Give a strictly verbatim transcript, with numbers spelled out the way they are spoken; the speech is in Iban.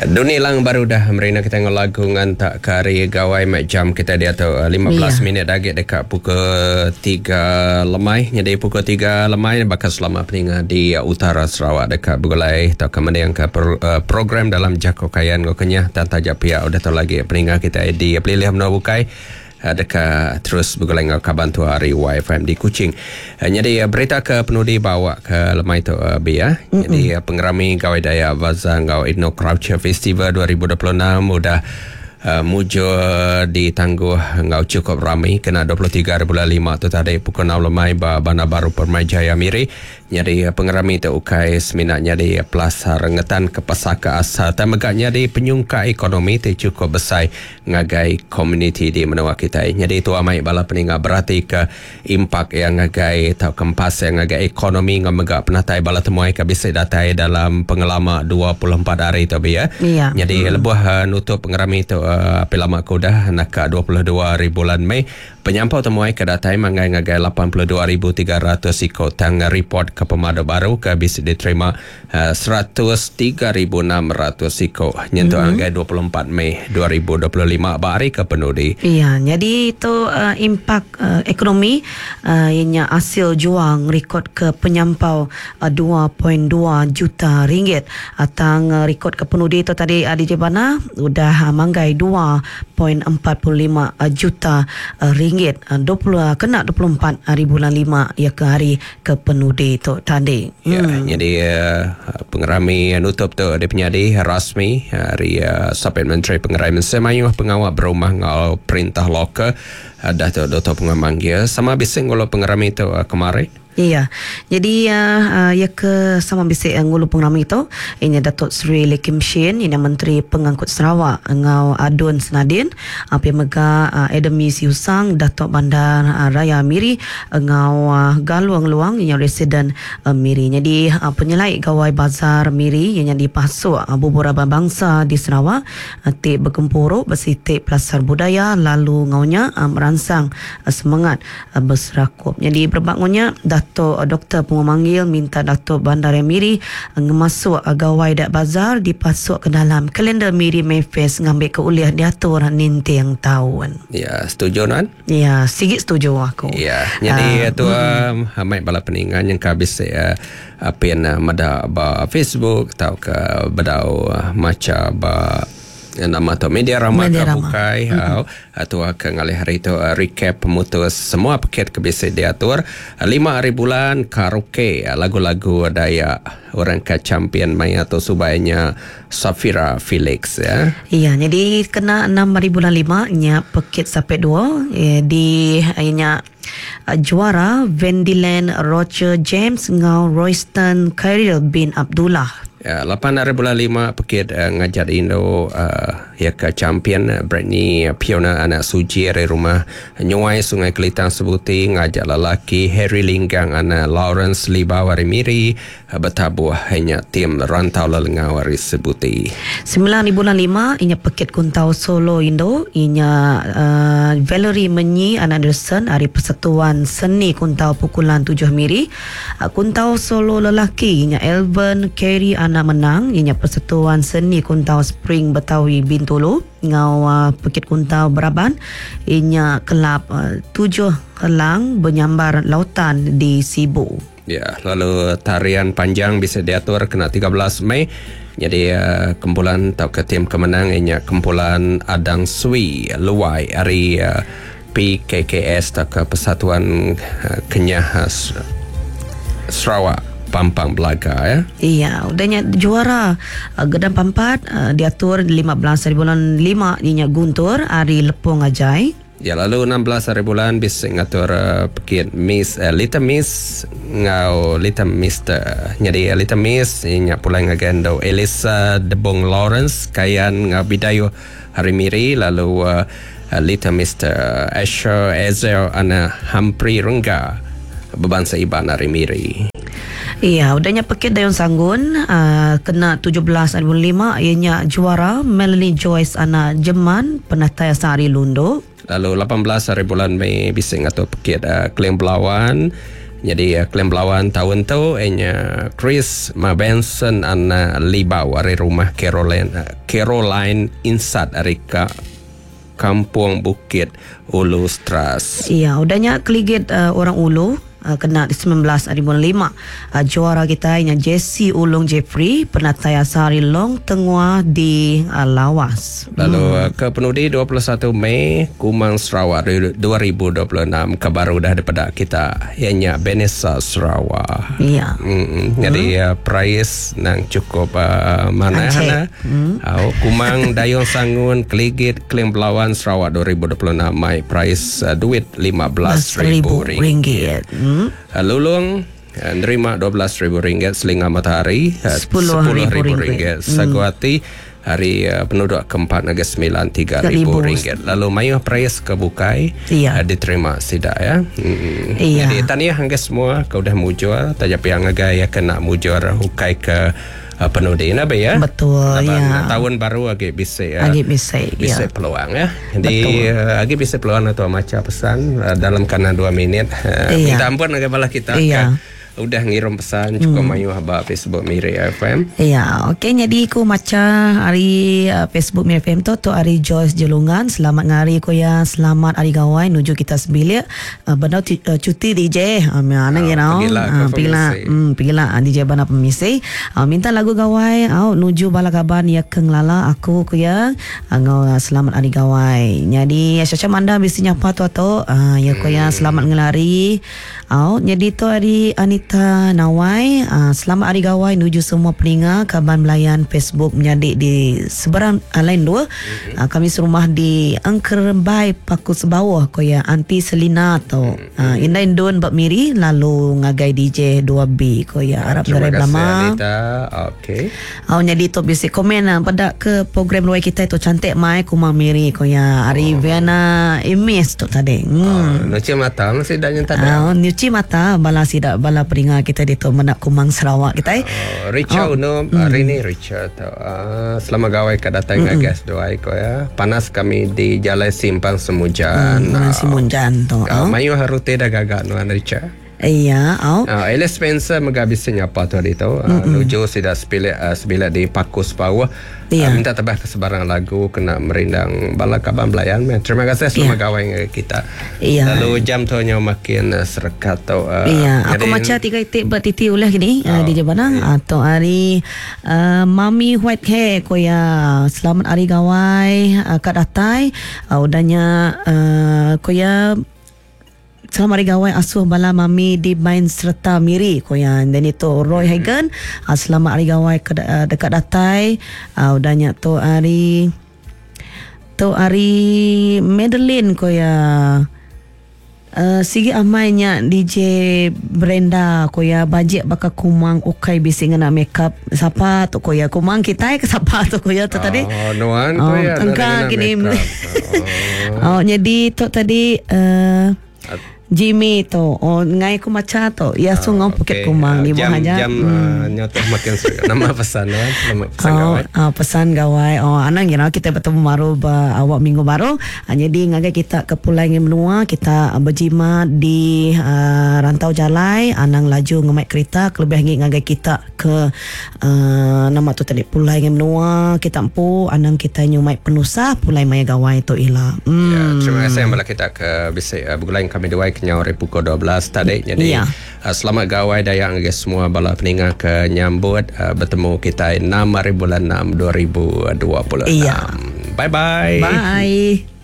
Ya, dunia lang baru dah merina kita ngelagu ngantak ke hari gawai mak jam kita dia tu lima belas Ya. minit lagi dekat pukul tiga lemai. Jadi pukul tiga lemai bakal selama peninga di Utara Sarawak dekat Begulai atau kemudian ke pro, uh, program dalam Jako Kayan Ngau Kenyah dan tajak pihak udah tahu lagi peninga kita di Pelilih Menua Bukai dekat terus bergulai dengan kaban tu hari Y F M di Kuching. Jadi berita ke penudi bawa ke lemai tu bi ya. Jadi pengerami Gawai Dayak Bazaar ngau Ethno Culture Festival dua ribu dua puluh enam udah uh, mujur ditangguh ngau cukup ramai kena dua puluh tiga bulan lima tu tadi pukul enam lemai ba Bandar Baru Permyjaya Miri. Jadi pengerami tu ukai seminat jadi pelasar rengetan ke pesaka asal dan megaknya di penyungka ekonomi tu cukup besar ngagai komuniti di menua kita. Jadi tu amai bala peninga berarti ke impak yang ngagai atau kempas yang ngagai ekonomi ngau megak penatai bala temuai ke bisa datai dalam pengelama dua puluh empat hari tu bi ya. Ya. Jadi hmm. lebuh uh, nutup pengerami tu uh, api lama ku dah nak dua puluh dua hari bulan Mei penyampau temuai ke datai manggai ngagai lapan puluh dua ribu tiga ratus ikut tang report ke pemadu baru ke bisa diterima uh, seratus tiga ribu enam ratus ikut nyentuh mm-hmm. anggai dua puluh empat Mei dua ribu dua puluh lima bari ke penudi. Iya, jadi itu uh, impak uh, ekonomi uh, ianya hasil juang rekod ke penyampau uh, dua perpuluhan dua juta ringgit atang uh, rekod ke penudi itu tadi uh, D J Bana udah uh, manggai dua perpuluhan empat lima juta uh, ringgit uh, dua puluh uh, kena dua puluh empat hari bulan lima ya ke hari ke penudi itu tadi. Ya, hmm. jadi uh, pengerami nutup tu dia penyadi rasmi hari uh, Sapit Menteri Pengerai Mensemayuh pengawal berumah ngau perintah lokal uh, dah tu Doktor Pengamanggil sama bising ngulu pengerami tu uh, kemarin. Iya. Jadi uh, uh, ya ke sama bisik uh, ngulu pengerami itu ini Datuk Seri Lekim Shin ini Menteri Pengangkut Sarawak ngau Adun Senadin api mega uh, Adam Yusang Datuk Bandar uh, Raya Miri ngau uh, Galuang Luang ini Residen uh, Miri. Jadi uh, penyelai Gawai Bazar Miri yang dipasuk uh, beberapa bangsa di Sarawak uh, tik bergempuruk bersitik pelasar budaya lalu ngaunya uh, merangsang uh, semangat uh, berserakup. Jadi berbangunnya Datuk Doktor Pengumanggil minta Datuk Bandar Miri ngemasuk Gawai Dayak Bazar dipasuk ke dalam kalender Miri Mayfest ngambil ke uliah diatur nintiang tahun. Ya, setuju nan? Ya, sikit setuju aku. Ya, jadi uh, tu um, amai bala peningan yang habis uh, pin uh, mada ba Facebook atau ke bedau uh, maca ba nama tu media ramah Media ke Rama. Bukai mm-hmm. atau ke ngalih hari itu uh, recap pemutus semua paket ke bisa diatur lima hari bulan karaoke lagu-lagu Dayak orang ke champion maya atau subainya Safira Felix ya. Iya, jadi kena enam hari bulan lima nya paket sampai dua eh, di nya juara Vendiland Roger James ngau Royston Khairil bin Abdullah. Ya, lapan hari bulan lima pekit uh, ngajar Indo uh, ya ke champion uh, Britney uh, Piona anak Suji dari rumah Nyuai Sungai Kelitang Sebuti ngajak lelaki Harry Linggang anak Lawrence Libau hari Miri uh, bertabuh hanya tim Rantau Lelengau hari Sebuti. Sembilan hari bulan lima inya pekit kuntau solo Indo inya uh, Valerie Menyi anak Anderson hari Persatuan Seni Kuntau Pukulan Tujuh Miri. Uh, kuntau solo lelaki inya Elvin Kerry anak menang ianya Persatuan Seni Kuntau Spring Betawi Bintulu ngau uh, Pekit Kuntau Beraban ianya kelab uh, tujuh helang bernyambar lautan di Sibu. Ya, lalu tarian panjang bisa diatur kena tiga belas Mei. Jadi uh, kumpulan atau ke tim kemenang ianya kumpulan Adang Sui Luai hari uh, P K K S atau ke Persatuan uh, Kenyah uh, Sarawak Pampang Belaga ya. Iya, udahnya juara uh, Gedang Pampat uh, diatur lima belas hari bulan lima ianya Guntur hari Lepung Ajai. Ya, lalu enam belas hari bulan bisa ngatur uh, pekit Miss uh, Little Miss ngau Little Mister. Jadi uh, Little Miss ianya pulang ngagendo Elisa Debong Lawrence kayan ngau Bidayo hari Miri lalu uh, uh, Little Mister Asher Ezel ana Humphrey Rengga berbangsa Iban hari Miri. Iya, udahnya pekit Dayun Sanggun uh, kena tujuh belas hari bulan lima ianya juara Melanie Joyce anak Jeman penatai Sari Lundo. Lalu lapan belas hari bulan Mei bisa ngatur pekit uh, Keling Belawan Jadi uh, Keling Belawan tahun tu ianya Chris Mabenson anak Libau dari rumah Caroline uh, Caroline Insat dari ka Kampung Bukit Ulu Stras. Iya, udahnya keligit uh, orang Ulu uh, kena di sembilan belas hari bulan lima. Uh, juara kita ianya Jesse Ulung Jeffrey penatai asal Long Tengah di uh, Lawas. Lalu hmm. ke penudi dua puluh satu Mei Kumang Sarawak dua ribu dua puluh enam ke baru dah daripada kita ianya Benesa Sarawak. Iya. Hmm. Jadi hmm. uh, prize nang cukup uh, mana hana. Hmm. Uh, Kumang Dayung Sangun Keligit Keling Belawan Sarawak dua ribu dua puluh enam mai prize uh, duit lima belas ribu ringgit. Hmm. Uh, Lulung uh, nerima dua belas ribu ringgit, Selinga Matahari uh, sepuluh ribu ringgit, Saguati hari uh, penduduk keempat Negeri Sembilan tiga ribu ringgit. Lalu mayuh prize ke bukai iya. uh, diterima sida ya. Hmm. Iya. Jadi tahniah hangga semua kau dah mujur, tajap yang ngagai ya kena mujur hukai ke uh, penudi nabi ya. Betul. Laban, ya. Tahun baru agi bisa uh, agi bisa bisa ya. Peluang ya. Jadi uh, agi bisa peluang atau maca pesan uh, dalam kanan dua minit. Uh, iya. Minta ampun agai balah kita. Iya. Ke, udah ngirim pesan cukup hmm. mayu haba Facebook Miri F M. Ya, okey jadi aku maca hari uh, Facebook Miri F M tu tu hari Joyce Jelungan, selamat ngari ko ya, selamat hari gawai nuju kita sebilik. Uh, benda uh, cuti D J. Uh, mana you know. Pergilah hmm pergilah D J bana pemisi. Uh, minta lagu gawai au nuju bala kaban ya keng lala aku ko ya. Ngau uh, selamat hari gawai. Jadi Syasha manda bisi nyapa tu atau uh, ya ko ya selamat ngelari. Au jadi tu hari Anita Nawai, uh, selamat hari gawai nuju semua peninga kaban melayan Facebook menyadik di seberang uh, lain dua. Mm-hmm. Uh, kami serumah di Angkerbai Paku Sebawah koya Anti Selina tu. Mm-hmm. Uh, Indah Indun bab Miri lalu ngagai D J dua B koya Arab Terima Garai kasih Belama. Anita. Okey. Au jadi tu bisi komen uh, pada ke program luai kita itu cantik mai kumang Miri koya hari oh. Viana Imis tu tadi. Hmm. Oh, nyuci mata masih dah nyentak. Uh, nyuci mata bala sidak bala peninga kita di tu menak Kumang Sarawak kita. Oh, Richard oh. no, mm. hari ni Richard. Uh, selamat gawai kat datang mm-hmm. guys doai ko ya. Panas kami di Jalan Simpang Semujan. Hmm, uh, Semujan tu. Uh, mayu harute dah gagak nuan Richard. Iya, oh. Uh, Alice Spencer megabisi nyapa tu hari tu. Uh, nuju sidak sebilik uh, sebilik di Paku Sepawah. Iya. Uh, minta tebah ke sebarang lagu kena merindang bala kaban belayan. Terima kasih selamat iya. gawai dengan kita. Iya. Lalu jam tu nya makin uh, serekat tu. Uh, iya, aku maca tiga itik bertiti ulah gini oh. uh, di Jabanang iya. Atau hari uh, Mami White Hair koya selamat hari gawai uh, kat datai uh, udahnya uh, koya selamat hari gawai asuh bala mami di main serta Miri koyan. Dan itu Roy Hagen uh, selamat hari gawai ke, uh, dekat datai uh, udahnya tu hari tu hari Madeline koya Uh, sigi amainya D J Brenda koya bajik baka kumang ukai bisi ngena makeup siapa tu koya kumang kita ke siapa tu koya tu oh, tadi nuan koya oh, engkau gini oh. Oh jadi tu tadi uh, Jimmy tu oh ngai ku maca tu ya sungguh oh, Bukit okay. Kumang di jam, bawah aja jam hmm. uh, nyotoh makin seru. Nama pesan ya nama pesan oh, gawai uh, pesan gawai oh anang you know, kita bertemu baru ba, awak minggu baru uh, jadi ngagai kita ke Pulau Ngin Menua kita uh, berjimat di uh, rantau jalai anang laju ngemaik kereta kelebih ngi ngagai kita ke uh, nama tu tadi Pulau Ngin Menua kita empu anang kita nyumai penusah Pulau Maya Gawai tu ila hmm. Ya, terima kasih bala kita ke bisa uh, bergulain kami dua kenyau hari pukul dua belas tadi. Jadi ya. uh, selamat gawai dayang ke semua bala peninga ke nyambut uh, bertemu kita enam hari bulan enam dua ribu dua puluh enam. Iya. Bye bye. Bye.